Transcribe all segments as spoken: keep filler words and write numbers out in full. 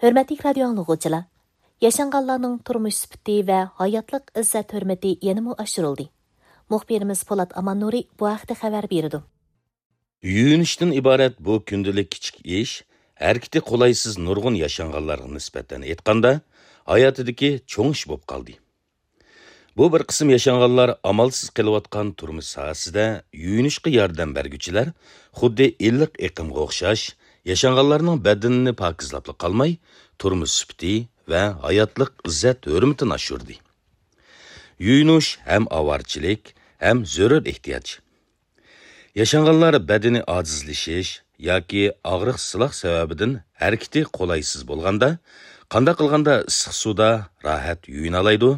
ھۆرمەتلىك رادىيو ئاڭلىغۇچىلار! ياشانغانلارنىڭ تۇرمۇش سۈپىتى ۋە ھاياتلىق ئىززەت-ھۆرمىتى يەنىمۇ ئاشۇرۇلدى. مۇخبىرىمىز پولات ئاماننۇرى بۇ ھەقتە خەۋەر بېرىدۇ. يۇيۇنۇشتىن ئىبارەت بۇ كۈندىلىك كىچىك ئىش، ھەرىكىتى قولايسىز نۇرغۇن ياشانغانلارغا نىسبەتەن ئېيتقاندا، ھاياتىدىكى چوڭ ئىش بولۇپ قالدى. بۇ بىر قىسىم ياشانغانلار ئامالسىز قېلىۋاتقان تۇرمۇش ساھەسىدە يۇيۇنۇشقا ياردەم بەرگۈچىلەر خۇددى ئىللىق ئېقىمغا ئوخشاش، ياشانغانلارنىڭ بەدىنىنى پاكىزلاپلا قالماي، تۇرمۇش سۈپىتى ۋە ھاياتلىق ئىززەت-ھۆرمىتىنى ئاشۇردى. يۇيۇنۇش ھەم ئاۋارىچىلىك، ھەم زۆرۈر ئېھتىياج. ياشانغانلار بەدىنى ئاجىزلىشىش ياكى ئاغرىق-سىلاق سەۋەبىدىن ھەرىكىتى قولايسىز بولغاندا، قانداق قىلغاندا ئىسسىق سۇدا راھەت يۇيۇنالايدۇ؟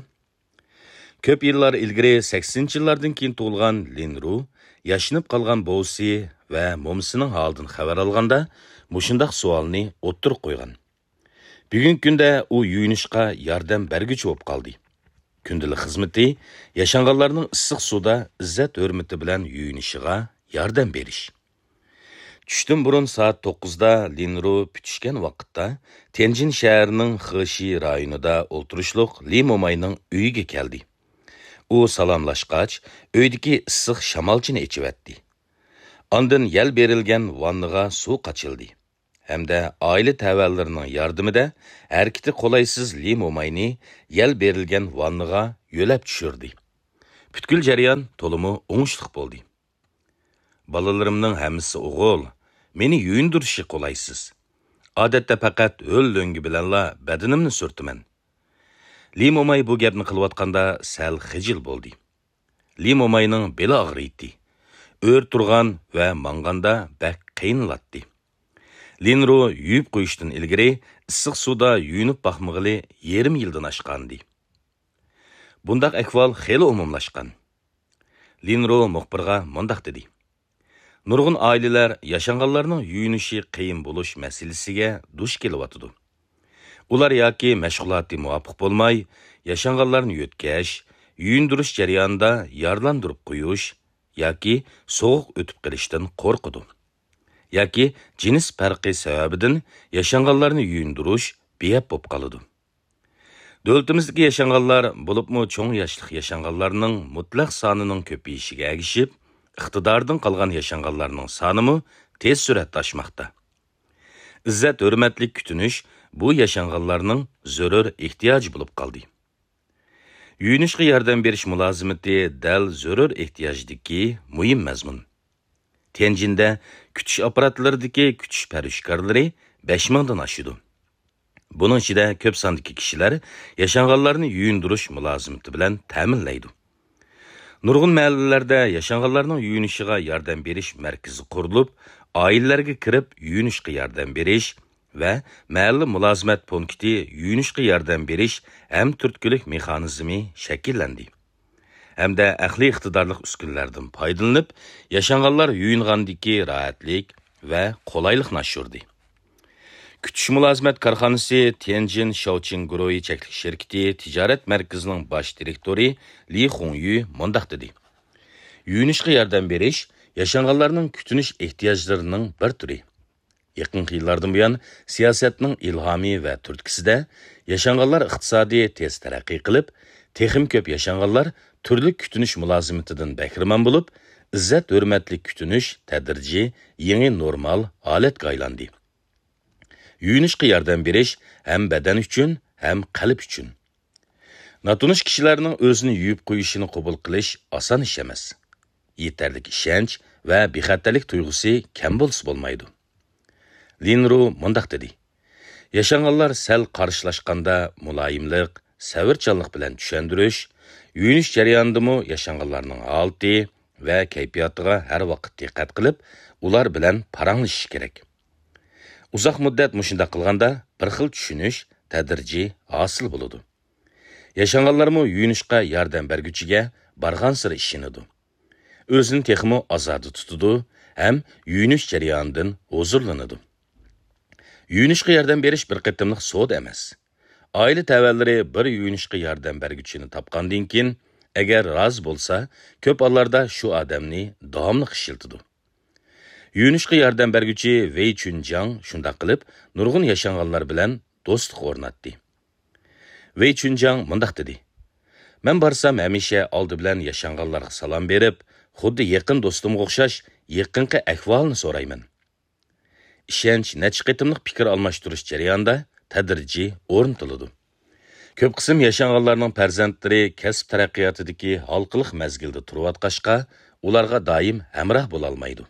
كۆپ يىللار ئىلگىرى سەكسىنىنچى يىللاردىن كېيىن تۇغۇلغان لىن رۇ ياشىنىپ قالغان بوۋىسى ۋە مومىسىنىڭ ھالىدىن خەۋەر ئالغاندا، مۇشۇنداق سوئالنى ئوتتۇرىغا قويغان. بۈگۈنكى كۈندە ئۇ يۇيۇنۇشقا ياردەم بەرگۈچى بولۇپ قالدى. كۈندىلىك خىزمىتى ياشانغانلارنىڭ ئىسسىق سۇدا ئىززەت-ھۆرمىتى بىلەن يۇيۇنۇشىغا ياردەم بېرىش. چۈشتىن بۇرۇن سائەت توققۇزدا لىن رۇ پۈتۈشكەن ۋاقىتتا تيەنجىن شەھىرىنىڭ خېشى رايونىدا ئولتۇرۇشلۇق لى موماينىڭ ئۆيىگە كەلدى. ئۇ سالاملاشقاچ، ئۆيدىكى ئىسسىق شامالچىنى ئېچىۋەتتى. ئاندىن يەل بېرىلگەن ۋاننىغا سۇ قاچىلىدى ھەمدە ئائىلە تەۋەلىرىنىڭ ياردىمىدە ھەرىكىتى قولايسىز لى موماينى يەل بېرىلگەن ۋاننىغا يۆلەپ چۈشۈردى. پۈتكۈل جەريان تولىمۇ ئوڭۇشلۇق بولدى. بالىلىرىمنىڭ ھەممىسى ئوغۇل، مېنى يۇيۇندۇرۇشى قولايسىز. ئادەتتە پەقەت ھۆل لۆڭگە بىلەنلا بەدىنىمنى سۈرتىمەن. لى موماي بۇ گەپنى قىلىۋاتقاندا سەل خىجىل بولدى. لى موماينىڭ بېلى ئاغرىيتتى. ئۆرە تۇرغان ۋە ماڭغاندا بەك قىينىلاتتى. لىن رۇ يۇيۇپ قويۇشتىن ئىلگىرى ئىسسىق سۇدا يۇيۇنۇپ باقمىغىلى يېرىم يىلدىن ئاشقانىدى. بۇنداق ئەھۋال خېلى ئومۇملاشقان. لىن رۇ مۇخبىرغا مۇنداق دېدى: نۇرغۇن ئائىلىلەر ياشانغانلارنىڭ يۇيۇنۇشى قىيىن بولۇش مەسىلىسىگە دۇچ كېلىۋاتىدۇ. ئۇلار ياكى مەشغۇلاتى مۇۋاپىق بولماي، ياشانغانلارنى يۆتكەش، يۇيۇندۇرۇش جەريانىدا يارىلاندۇرۇپ قويۇش ياكى سوغۇق ئۆتۈپ قېلىشتىن قورقىدۇ. ياكى جىنس پەرقى سەۋەبىدىن ياشانغانلارنى يۇيۇندۇرۇش بىئەپ بولۇپ قالىدۇ. دۆلىتىمىزدىكى ياشانغانلار، بولۇپمۇ چوڭ ياشلىق ياشانغانلارنىڭ مۇتلەق سانىنىڭ كۆپىيىشىگە ئەگىشىپ، ئىقتىدارىدىن قالغان ياشانغانلارنىڭ سانىمۇ تېز سۈرئەتتە ئاشماقتا. ئىززەت-ھۆرمەتلىك كۈتۈنۈش بۇ ياشانغانلارنىڭ زۆرۈر ئېھتىياجى بولۇپ قالدى. يۇيۇنۇشقا ياردەم بېرىش مۇلازىمىتى دەل زۆرۈر ئېھتىياجدىكى مۇھىم مەزمۇن. تيەنجىندە كۈتۈش ئاپپاراتلىرىدىكى كۈتۈش پەرۋىشكارلىرى بەش مىڭدىن ئاشىدۇ. بۇنىڭ ئىچىدە كۆپ ساندىكى كىشىلەر ياشانغانلارنى يۇيۇندۇرۇش مۇلازىمىتى بىلەن تەمىنلەيدۇ. نۇرغۇن مەھەللىلەردە ياشانغانلارنىڭ يۇيۇنۇشىغا ياردەم بېرىش مەركىزى قۇرۇلۇپ، ئائىلىلەرگە كىرىپ يۇيۇنۇشقا ياردەم بېرىش ۋە مەھەللە مۇلازىمەت پونكىتى يۇيۇنۇشقا ياردەم بېرىش ھەم تۈرتكىلىك مېخانىزمى شەكىللەندى. ھەمدە ئەقلىي ئىقتىدارلىق ئۈسكۈنىلەردىن پايدىلىنىپ، ياشانغانلار يۇيۇنغاندىكى راھەتلىك ۋە قولايلىقنى ئاشۇردى. كۈتۈش مۇلازىمەت كارخانىسى تيەنجىن شاۋچىن گۇرۇھى چەكلىك شىركىتى تىجارەت مەركىزىنىڭ باش دىرېكتورى لى خۇڭيۈ مۇنداق دېدى: يۇيۇنۇشقا ياردەم بېرىش ياشانغانلارنىڭ كۈتۈنۈش ئېھتىياجلىرىنىڭ بىر تۈرى. يېقىنقى يىللاردىن بۇيان، سىياسەتنىڭ ئىلھامى ۋە تۈرتكىسىدە ياشانغانلار ئىقتىسادى تېز تەرەققىي قىلىپ، تېخىمۇ كۆپ ياشانغانلار تۈرلۈك كۈتۈنۈش مۇلازىمىتىدىن بەھرىمەن بولۇپ، ئىززەت-ھۆرمەتلىك كۈتۈنۈش تەدرىجىي يېڭى نورمال ھالەتكە ئايلاندى. يۇيۇنۇشقا ياردەم بېرىش ھەم بەدەن ئۈچۈن، ھەم قەلب ئۈچۈن. ناتونۇش كىشىلەرنىڭ ئۆزىنى يۇيۇپ قويۇشىنى قوبۇل قىلىش ئاسان ئىش ئەمەس. يېتەرلىك ئىشەنچ ۋە بىخەتەرلىك تۇيغۇسى كەم بولسا بولمايدۇ. لىن رۇ مۇنداق دېدى: ياشانغانلار سەل قارشىلاشقاندا مۇلايىملىق، سەۋرچانلىق بىلەن چۈشەندۈرۈش، يۇيۇنۇش جەريانىدىمۇ ياشانغانلارنىڭ ھالىتى ۋە كەيپىياتىغا ھەر ۋاقىت دىققەت قىلىپ، ئۇلار بىلەن پاراڭلىشىش كېرەك. ئۇزاق مۇددەت مۇشۇنداق قىلغاندا، بىر خىل چۈشىنىش تەدرىجىي ھاسىل بولىدۇ. ياشانغانلارمۇ يۇيۇنۇشقا ياردەم بەرگۈچىگە بارغانسېرى ئىشىنىدۇ. ئۆزىنى تېخىمۇ ئازادە تۇتىدۇ ھەم يۇيۇنۇش جەريانىدىن ھۇزۇرلىنىدۇ. يۇيۇنۇشقا ياردەم بېرىش بىر قېتىملىق سودا ئەمەس. ئائىلە تەۋەلىرى بىر يۇيۇنۇشقا ياردەم بەرگۈچىنى تاپقاندىن كېيىن، ئەگەر رازى بولسا، كۆپ ھاللاردا شۇ ئادەمنى داۋاملىق ئىشلىتىدۇ. يۇيۇنۇشقا ياردەم بەرگۈچى ۋېي چۈنجاڭ شۇنداق قىلىپ، نۇرغۇن ياشانغانلار بىلەن دوستلۇق ئورناتتى. ۋېي چۈنجاڭ مۇنداق دېدى: مەن بارسام، ھەمىشە ئالدى بىلەن ياشانغانلارغا سالام بېرىپ، خۇددى يېقىن دوستۇمغا ئوخشاش يېقىنقى ئەھۋالنى سورايمەن. ئىشەنچ نەچچە قېتىملىق پىكىر ئالماشتۇرۇش جەريانىدا تەدرىجىي ئورنىتىلىدۇ. كۆپ قىسىم ياشانغانلارنىڭ پەرزەنتلىرى كەسىپ تەرەققىياتىدىكى ھالقىلىق مەزگىلدە تۇرۇۋاتقاچقا، ئۇلارغا دائىم ھەمراھ بولالمايدۇ.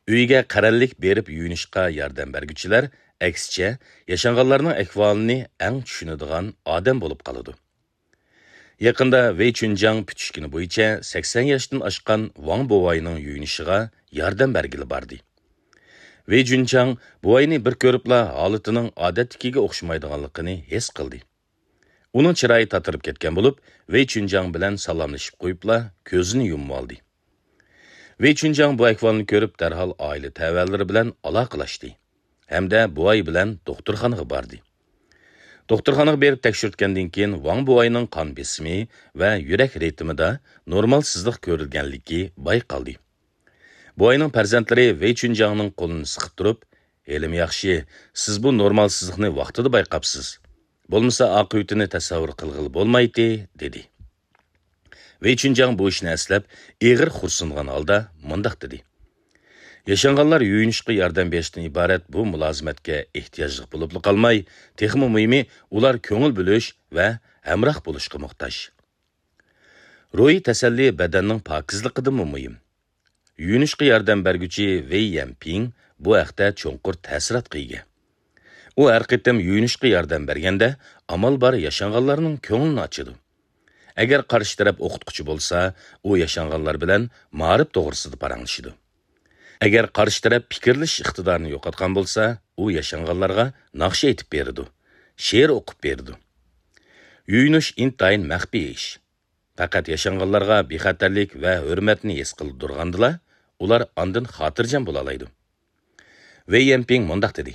ئۆيىگە قەرەللىك بېرىپ يۇيۇنۇشقا ياردەم بەرگۈچىلەر، ئەكسىچە، ياشانغانلارنىڭ ئەھۋالىنى ئەڭ چۈشىنىدىغان ئادەم بولۇپ قالىدۇ. يېقىندا ۋېي چۈنجاڭ پۈتۈشكىنى بويىچە سەكسەن ياشتىن ئاشقان ۋاڭ بوۋاينىڭ يۇيۇنۇشىغا ياردەم بەرگىلى باردى. ۋېي چۈنجاڭ بوۋاينى بىر كۆرۈپلا ھالىتىنىڭ ئادەتتىكىگە ئوخشىمايدىغانلىقىنى ھېس قىلدى. ئۇنىڭ چىرايى تاتىرىپ كەتكەن بولۇپ، ۋېي چۈنجاڭ بىلەن سالاملىشىپ قويۇپلا كۆزىنى يۇمۇۋالدى. ۋېي چۈنجاڭ بۇ ئەھۋالنى كۆرۈپ، دەرھال ئائىلە تەۋەلىرى بىلەن ئالاقىلاشتى ھەمدە بوۋاي بىلەن دوختۇرخانىغا باردى. دوختۇرخانىغا بېرىپ تەكشۈرتكەندىن كېيىن، ۋاڭ بوۋاينىڭ قان بېسىمى ۋە يۈرەك رىتىمىدا نورمال سىزىق كۆرۈلگەنلىكى بايقالدى. بوۋاينىڭ پەرزەنتلىرى ۋېي چۈنجاڭنىڭ قولىنى سىقىپ تۇرۇپ، ھېلىمۇ ياخشى، سىز بۇ نورمال سىزىقنى ۋاقتىدا بايقاپسىز. بولمىسا ئاقىۋىتىنى تەسەۋۋۇر قىلغىلى بولمايتتى، دېدى. ۋېي چۈنجاڭ بۇ ئىشنى ئەسلەپ، ئېغىر خورسۇنغان ھالدا مۇنداق دېدى: ياشانغانلار يۇيۇنۇشقا ياردەم بېرىشتىن ئىبارەت بۇ مۇلازىمەتكە ئېھتىياجلىق بولۇپلا قالماي، تېخىمۇ مۇھىمى، ئۇلار كۆڭۈل بۆلۈش ۋە ھەمراھ بولۇشقا موھتاج. روھىي تەسەللى بەدەننىڭ پاكىزلىقىدىنمۇ مۇھىم. يۇيۇنۇشقا ياردەم بەرگۈچى ۋېي يەنپىڭ بۇ ھەقتە چوڭقۇر تەسىراتقا ئىگە. ئۇ ھەر قېتىم يۇيۇنۇشقا ياردەم بەرگەندە، ئامال بار ياشانغانلارنىڭ كۆڭلىنى ئاچىدۇ. ئەگەر قارشى تەرەپ ئوقۇتقۇچى بولسا، ئۇ ياشانغانلار بىلەن مائارىپ توغرىسىدا پاراڭلىشىدۇ. ئەگەر قارشى تەرەپ پىكىرلىشىش ئىقتىدارىنى يوقاتقان بولسا، ئۇ ياشانغانلارغا ناخشا ئېيتىپ بېرىدۇ، شېئىر ئوقۇپ بېرىدۇ. يۇيۇنۇش ئىنتايىن مەخپىي ئىش. پەقەت ياشانغانلارغا بىخەتەرلىك ۋە ھۆرمەتنى ھېس قىلدۇرغاندىلا، ئۇلار ئاندىن خاتىرجەم بولالايدۇ. ۋېي يەنپىڭ مۇنداق دېدى: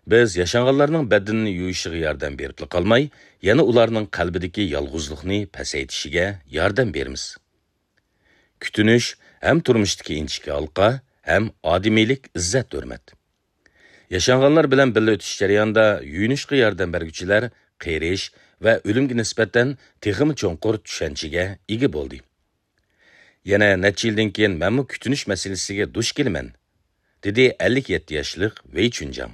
بىز ياشانغانلارنىڭ بەدىنىنى يۇيۇشىغا ياردەم بېرىپلا قالماي، يەنە ئۇلارنىڭ قەلبىدىكى يالغۇزلۇقنى پەسەيتىشىگە ياردەم بېرىمىز. كۈتۈنۈش ھەم تۇرمۇشتىكى ئىنچىكە ھالقا، ھەم ئادىمىيلىك، ئىززەت-ھۆرمەت. ياشانغانلار بىلەن بىللە ئۆتۈش جەريانىدا يۇيۇنۇشقا ياردەم بەرگۈچىلەر قېرىش ۋە ئۆلۈمگە نىسبەتەن تېخىمۇ چوڭقۇر چۈشەنچىگە ئىگە بولدى. يەنە نەچچە يىلدىن كېيىن مەنمۇ كۈتۈنۈش مەسىلىسىگە دۇچ كېلىمەن، دېدى ئەللىك يەتتە ياشلىق ۋېي چۈنجاڭ.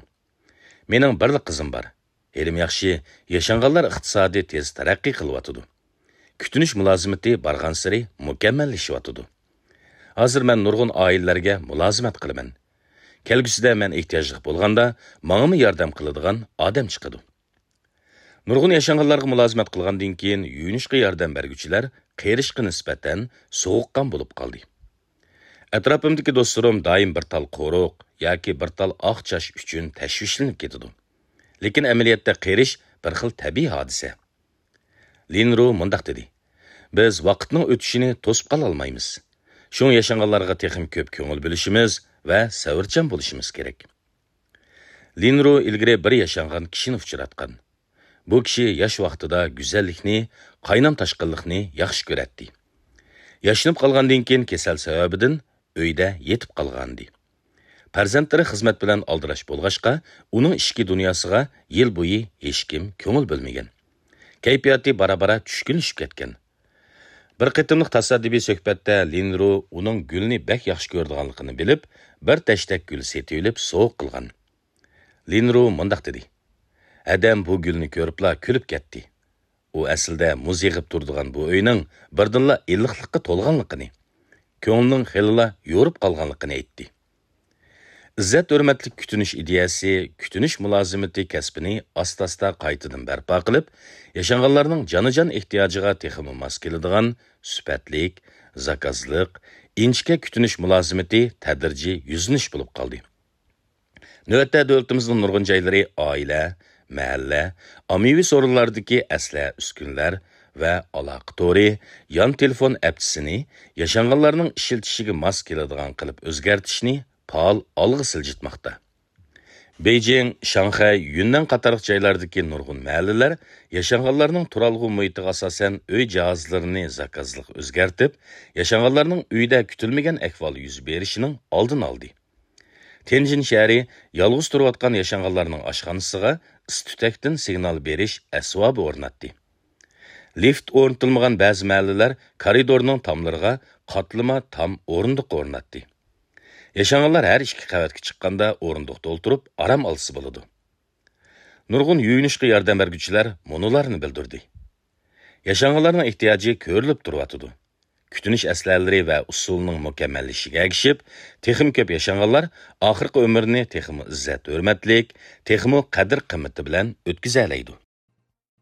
مېنىڭ بىرلا قىزىم بار. ھېلىمۇ ياخشى، ياشانغانلار ئىقتىسادى تېز تەرەققىي قىلىۋاتىدۇ. كۈتۈنۈش مۇلازىمىتى بارغانسېرى مۇكەممەللىشىۋاتىدۇ. ھازىر مەن نۇرغۇن ئائىلىلەرگە مۇلازىمەت قىلىمەن. كەلگۈسىدە مەن ئېھتىياجلىق بولغاندا، ماڭىمۇ ياردەم قىلىدىغان ئادەم چىقىدۇ. نۇرغۇن ياشانغانلارغا مۇلازىمەت قىلغاندىن كېيىن، يۇيۇنۇشقا ياردەم بەرگۈچىلەر قېرىشقا نىسبەتەن سوغۇققان بولۇپ قالدى. ئەتراپىمدىكى دوستلىرىم دائىم بىر تال قورۇق ياكى بىر تال ئاق چاچ ئۈچۈن تەشۋىشلىنىپ كېتىدۇ. لېكىن ئەمەلىيەتتە قېرىش بىر خىل تەبىئىي ھادىسە. لىن رۇ مۇنداق دېدى: بىز ۋاقىتنىڭ ئۆتۈشىنى توسۇپ قالالمايمىز. شۇڭا ياشانغانلارغا تېخىمۇ كۆپ كۆڭۈل بۆلۈشىمىز ۋە سەۋرچان بولۇشىمىز كېرەك. لىن رۇ ئىلگىرى بىر ياشانغان كىشىنى ئۇچراتقان. بۇ كىشى ياش ۋاقتىدا گۈزەللىكنى، قاينام-تاشقىنلىقنى ياخشى كۆرەتتى. ياشىنىپ قالغاندىن كېيىن كېسەل سەۋەبىدىن ئۆيدە يېتىپ قالغانىدى. پەرزەنتلىرى خىزمەت بىلەن ئالدىراش بولغاچقا، ئۇنىڭ ئىچكى دۇنياسىغا يىل بويى ھېچكىم كۆڭۈل بۆلمىگەن. كەيپىياتى بارا-بارا چۈشكۈنلىشىپ كەتكەن. بىر قېتىملىق تاسادىپىي سۆھبەتتە لىن رۇ ئۇنىڭ گۈلنى بەك ياخشى كۆرىدىغانلىقىنى بىلىپ، بىر تەشتەك گۈل سېتىۋېلىپ سوۋغا قىلغان. لىن رۇ مۇنداق دېدى: ئادەم بۇ گۈلنى كۆرۈپلا كۈلۈپ كەتتى. ئۇ ئەسلىدە مۇز يېغىپ تۇرىدىغان بۇ ئۆينىڭ بىردىنلا ئىللىقلىققا تولغانلىقىنى، كۆڭلىنىڭ خېلىلا يورۇپ قالغانلىقىنى ئېيتتى. ئىززەت-ھۆرمەتلىك كۈتۈنۈش ئىدىيەسى كۈتۈنۈش مۇلازىمىتى كەسپىنى ئاستا-ئاستا قايتىدىن بەرپا قىلىپ، ياشانغانلارنىڭ جانىجان ئېھتىياجىغا تېخىمۇ ماس كېلىدىغان سۈپەتلىك، زاكازلىق، ئىنچىكە كۈتۈنۈش مۇلازىمىتى تەدرىجىي يۈزلىنىش بولۇپ قالدى. نۆۋەتتە دۆلىتىمىزنىڭ نۇرغۇن جايلىرى ئائىلە، مەھەللە، ئاممىۋى سورۇنلاردىكى ئەسلىھە-ئۈسكۈنىلەر ۋە ئالاقە تورى، يان تېلېفون ئەپچىسىنى ياشانغانلارنىڭ ئىشلىتىشىگە ماس كېلىدىغان قىلىپ ئۆزگەرتىشنى پائال ئالغا سىلجىتماقتا. بېيجىڭ، شاڭخەي، يۈننەن قاتارلىق جايلاردىكى نۇرغۇن مەھەللىلەر ياشانغانلارنىڭ تۇرالغۇ مۇھىتىغا ئاساسەن ئۆي جاھازلىرىنى زاكازلىق ئۆزگەرتىپ، ياشانغانلارنىڭ ئۆيدە كۈتۈلمىگەن ئەھۋال يۈز بېرىشىنىڭ ئالدىنى ئالدى. تيەنجىن شەھىرى يالغۇز تۇرۇۋاتقان ياشانغانلارنىڭ ئاشخانىسىغا ئىس-تۈتەكتىن سىگنال بېرىش ئەسۋابى ئورناتتى. لىفت ئورنىتىلمىغان بەزى مەھەللىلەر كارىدورنىڭ تاملىرىغا قاتلىما تام ئورۇندۇق ئورناتتى. ياشانغانلار ھەر ئىككى قەۋەتكە چىققاندا ئورۇندۇقتا ئولتۇرۇپ ئارام ئالسا بولىدۇ. نۇرغۇن يۇيۇنۇشقا ياردەم بەرگۈچىلەر مۇنۇلارنى بىلدۈردى. ياشانغانلارنىڭ ئېھتىياجى كۆرۈلۈپ تۇرۇۋاتىدۇ. كۈتۈنۈش ئەسلىھەلىرى ۋە ئۇسسۇلنىڭ مۇكەممەللىشىشىگە ئەگىشىپ، تېخىمۇ كۆپ ياشانغانلار ئاخىرقى ئۆمرىنى تېخىمۇ ئىززەت-ھۆرمەتلىك، تېخىمۇ قەدىر-قىممىتى بىلەن ئۆتكۈزەلەيدۇ.